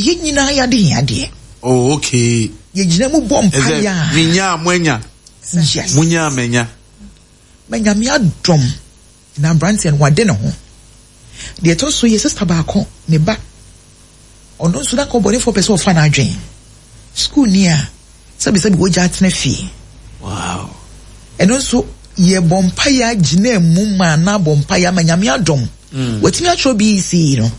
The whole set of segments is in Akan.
Ɛyɛ yɛn nyinaa yɛn adehiadeɛ. Oh, okay. Yɛgyina mu bɔ mpaeɛ a. Menya a moanya. Yes. Monya a manya. Ma Nyame adom na abranteɛ no wade ne ho. Deɛ ɛtɔ so yɛ sister baako ne ba ɔno nso na nka ɔbɔnefoɔ pɛ sɛ ɔfa n'adwen. School ni a sɛbisɛbi wagya atena fie. Wow. Ɛno nso yɛbɔ mpaeɛ agyina mu ma na abɔ mpaeɛ ama Nyame adom. Watumi atwerɛ BECE no.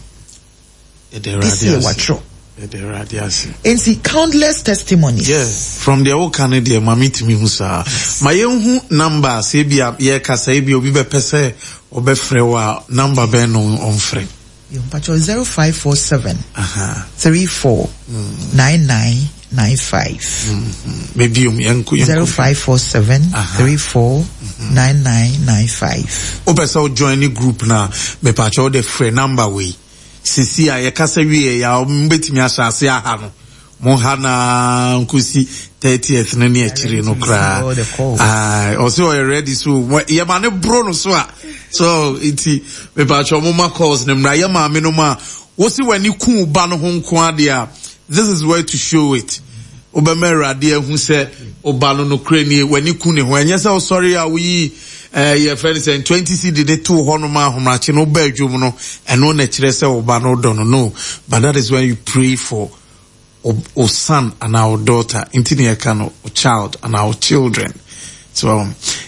This year watwerɛ. Yɛda Awurade ase. Nti countless testimonies. Yeah, from deɛ woka no deɛ ma metumi hu saa. Ma yɛnhu number sɛ ebia yɛrekasa ebia obi bɛpɛ sɛ ɔbɛfrɛ wo a number bɛn na ɔmfrɛ? Yo, mpakyɛw 0547 34 9995. Mebiom yɛnko yɛnko. 0547 34 9995. Wopɛ sɛ wo join ne group no a mepakyɛw wode frɛ number wei. Sisi a yɛkasa wieɛ yi a mobɛtumi ahyɛ ase aha no. Mo ha no ara nkosi 30th no ne akyire no koraa. Aye, ɔse ɔyɛ ready so yɛma no boro no so a. So nti mepakyɛw mo ma calls no mmra. Yɛ maame no ma wose w'ani ku wo ba no ho nko adeɛ a, this is where to show it. Wobɛma Awurade ahu sɛ wo ba no nokorɛ nie, w'ani ku ne ho. Ɛnyɛ sɛ wosɔre a woyi eh, yɛfrɛ no sɛ 20 cedi de too hɔ nom a ahomakye no woba adwom no, ɛno na ɛkyerɛ sɛ wo ba no wodɔ no. No, but that is when you pray for wo son anaa wo daughter. Nti na yɛka no wo child anaa wo children. So,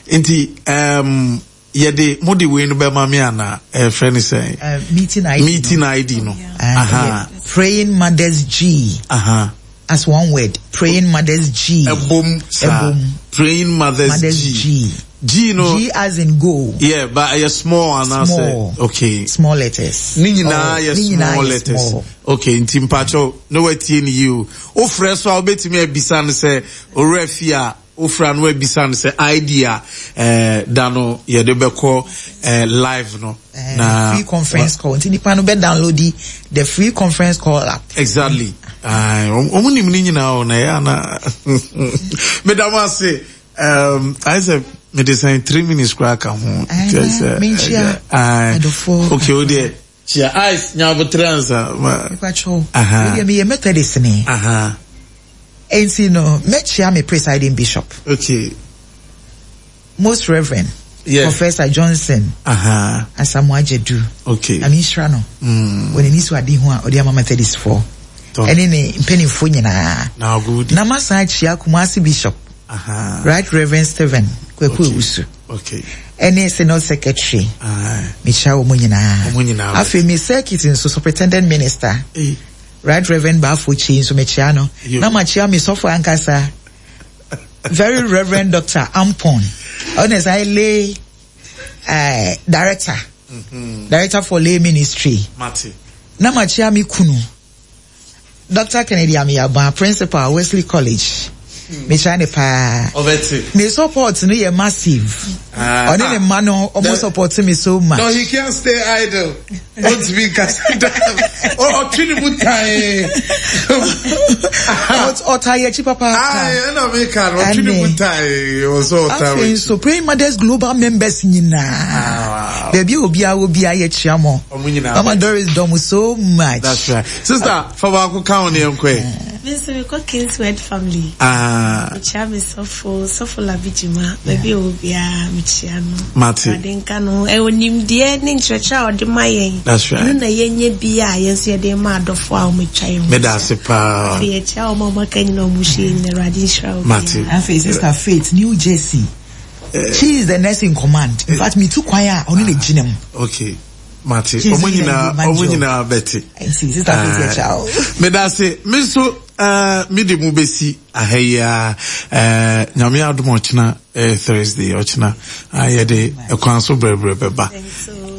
nti, um, Yɛde mo de wei no bɛma me anaa? Ɛfrɛ no sɛn? Uh, meeting ID. Meeting ID no. Aha. Praying Mothers G. Aha. As one word. Praying Mothers G. Ɛbom saa. Ɛbom. Praying Mothers, Mothers G. G. G no. G as in go. Yeah, but ɛyɛ small anaasɛ. Small. Okay. Small letters. Ne nyinaa oh, yɛ small letters. Small. Okay, nti mpakyɛw na watie ne yie o. Wofrɛ so a wobɛtumi abisa no sɛ owura fie a Wofrɛ a na wabisa no sɛ ID a eh, da no yɛde bɛkɔ eh, live no. Eh, na free conference call nti nipa no bɛ download the free conference call app. Exactly. Wɔn nim ne nyinaa o na ɛyɛ ana. Meda mo ase. Um, ayɛ sɛ mede sɛn 3 minutes koraa ka ho. Menkyia adɔfoɔ. Okay, o deɛ kyia ice nya abotere ansa. Mepakyɛw, medeɛ meyɛ Methodist ni. Enti no, mɛkyia me presiding bishop. Okay. Most Reverend Professor Johnson Asamoah Gyadu. Okay. Nyame nhyira no. Wɔ n'ani so ade ho a ɔde ama Methodist foɔ. Ɛne ne mpanimfoɔ nyinaa. Na masan akyia Kumasi Bishop. Right Reverend Stephen Kwaku Owusu. Okay. Ɛne Synod Secretary. Mekyia wɔn nyinaa. Afei me circuit nso Superintendent Minister. Hey. Right Reverend Bafo Kyei nso mekyia no. Na makyia me sɔfo ankasa. Very Reverend Dr. Ampon. Ɔno sɛ lay director. Director for lay ministry. Mate. Na makyia me kunu. Dr. Kennedy Amiyaba, principal Wesley College. Mekyia ne paa. Ɔbɛte. Ne support no yɛ massive. Ɔne ne mma no, ɔmo support me so much. No, he can't stay idle. Ɔntumi nkasa da. Ɔtwe ne mu tan. Ɔtaa yɛ akyi papaapa. Ayi, ɛna mi ka no, ɔtwe ne mu tan. Ɔsɛ ɔtaa wɔ akyi. Afei nso, Praying Mothers Global members nyinaa. Baabi a obiara wɔ biara yɛkyia mo. Ɔmo nyinaa. Mama Doris dɔ mo so much. That's right. Sister, fa baako ka ho ne yɛn kɔ ɛ. Me nso mekɔ Kingsword family. Ah. Mekyia me sɔfo, sɔfo Labi Gyima, baabi a ɔwɔ biara mekyia no. Mate. Awurade nka no ho. Ɛwɔ nimdeɛ ne nkyerɛkyerɛ a ɔde ma yɛn. That's right. Ɛno na yɛnyɛ bi a yɛn nso yɛde ma adɔfo a wɔatwa yɛn ho. Meda ase paa. Afei yɛkyia wɔn a wɔaka nyinaa wɔn hyɛ nyinaa Awurade nhyira wo. Mate. Afei Sister Faith, New Jersey. She is the nurse in command. In fact, me tu kwan a ɔno na gyina mu. Okay. Mate. Ɔmo nyinaa ɔmo nyinaa bɛte. Sister Faith yɛ kyɛw. Meda ase. Me nso eh, me de mu besi aha yi a eh, Nyame adom ɔkyena eh, Thursday ɔkyena ah, yɛde ɛkwan so brɛbrɛ bɛba.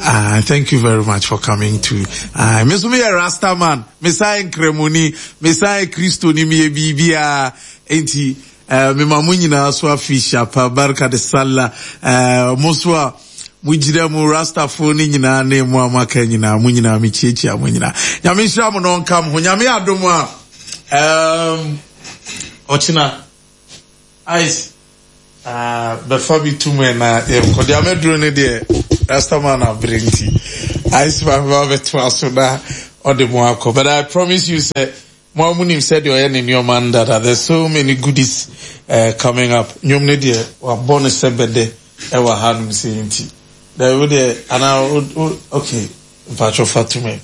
Ah, thank you very much for coming to. Ah, me nso meyɛ Rasta man, mesan Nkramoni, mesan Kristoni, meyɛ biribiara. Enti Eh, mema mo nyinaa so afihyia pa, Barka de Sallah. Eh, mo nso a mogyina mu, Rastafo no nyinaa ne mo a moaka nyinaa, mo nyinaa mekyiakyia mo nyinaa. Nyame nhyira mo na ɔnka mo ho. Nyame adom a, um, ɔkyena, ice, uh, bɛfa bi tum ɛ na yɛnkɔ. Deɛ amɛduro no deɛ, Rastaman abere nti, ice ma meba bɛtoa so na. ɔde mo akɔ. But I promise you sɛ mo a mo nim sɛdeɛ ɔyɛ ne nneɛma no dada. There's so many goodies uh, coming up. Nnwom no deɛ wabɔ no sɛ bɛdɛ ɛwɔ hanom sei nti. Daabi wo deɛ anaa o okay mpatsɔ fa to me.